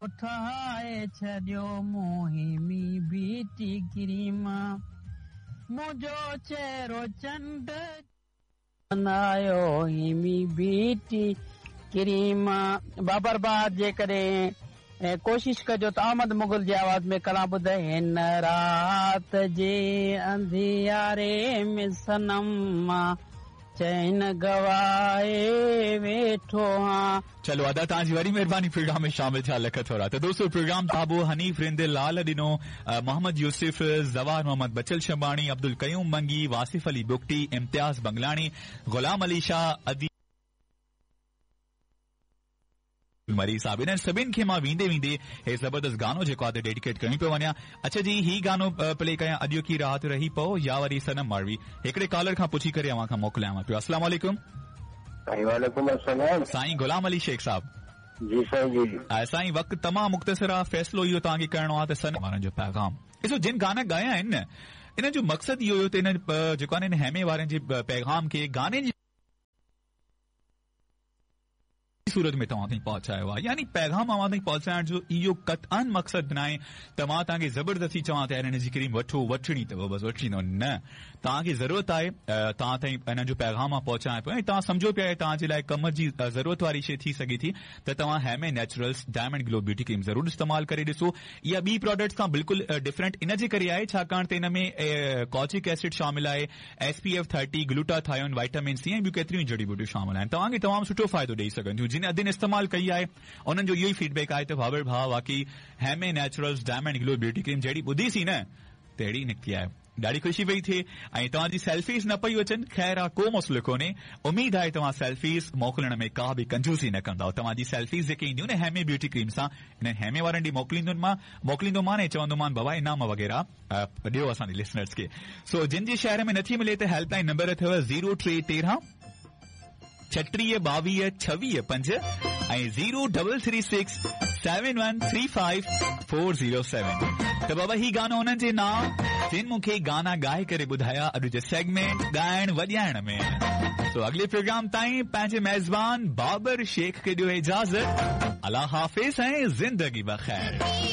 ٺاهي ڇڏيو مون هيمي بيوٽي ڪريم منهنجو چهرو چنڊ بنايو هيمي بيوٽي ڪريم. بابر ڀاء جيڪڏهن ڪوشش ڪجو ته احمد مغل جي آواز ۾ ڪلام ٻڌ هن رات جي انڌياري ۾ صنم مان چين گوائي ويٺو هان. چلو ادا توهان جي وڏي مهرباني پروگرام ۾ شامل ٿيا لک ٿورا ته دوستو پروگرام بابو حنيف رند لال ڏنو محمد يوسف زوار محمد بچل شنباڻي عبدالقيوم منگي واصف علي بگٽي امتياز بنگلاڻي غلام علي شاهه ادي مري صاحب انهن سڀن کي مان ويندي ويندي هي زبردست گانو جيڪو آهي ڊيڊيڪيٽ ڪيون پيو وڃان اڇا جي هي گانو پلي ڪيان اڄوڪي رات رهي پئو يا وري صنم ماروي هڪڙي ڪالر کان پڇي ڪري اوهان کان موڪليان پيو السلام عليڪم. سائين وعليڪم السلام. سائين غلام علي شيخ صاحب. جي سائين جي. سائين وقت تمام مختصر آ فيصلو اهو توهان کي ڪرڻو آ ته صنم وارن جو پيغام ڏسو جن گانا ڳايا آهن نه انهن جو مقصد اهو هيو ته انهن جيڪو آهي نه ان هيمي وارن جي پيغام کي گاني جي صورت ۾ توهان تائين پهچايو آهي يعني پيغام اوهان تائين پهچائڻ جو اهو قطعاً مقصد ناهي ته مان توهان کي زبردستي چوان ته يار هن جي ڪريم وٺو وٺڻي اٿو بس وٺڻي اٿو نه توهان کي ضرورت آهي توهان تائين انهن جو پيغام مان پهچايان پيو ۽ توهان سمجهو پيا توهان جي لاء ڪم جي ضرورت واري شيء ٿي سگهي ٿي ته توهان هيمي نيچرلز ڊائمنڊ گلو بيوٽي ڪريم ضرور استعمال ڪري ڏسو اها ٻي پراڊڪٽس کان بلڪل ڊفرنٽ ان جي ڪري آهي ڇاڪاڻ ته ان ۾ ڪوجڪ ايسڊ شامل آهي S P F 30، glutathione, vitamin C ۽ ٻيون ڪيتريون ئي جڙي ٻوٽيون شامل آهن. توهان کي تمام سٺو فائدو ڏئي سگهن ٿيون. جن ادين استعمال ڪئي آهي انهن جو اهو ئي فيڊ بيڪ آهي ته بابر ڀاء واقعي هيمي نيچرلز ڊائمنڊ گلو بيوٽي ڪريم جهڙي ٻڌي سين نه تهڙي نڪتي آهي. ڏاڍي خوشي پئي ٿئي ۽ توهان جي سيلفيز نه پيون اچن خير آ ڪو مسئلو ڪونهي اميد آهي توهان سيلفيز موڪلڻ ۾ ڪا به ڪنجوسي نه ڪندؤ توهان جي سيلفيز جيڪي اينديون نه هيمي بيوٽي ڪريم سان انهن هيمي وارن ڏي موڪليندن موڪليندومان ۽ چوندومان بابا انعام وغيره ڏيو اسان جي لسنرز کي سو جن جي شهر ۾ نٿي ملي ته هيلپ لائن نمبر اٿو زيرو ٽي تيرهن ڇٽيهه ٻاويهه ڇويهه پنج ۽ zero double three six seven one three five four zero seven ته بابا هي گانو انهن جي نانء جن مون کي گانا ڳائي ڪري ٻڌايا اڄ جي سيگمينٽ ڳائڻ وڄائڻ ۾ سو اڳلي پروگرام تائين پنهنجي ميزبان بابر شيخ کي ڏيو اجازت الله حافظ ۽ زندگي بخير.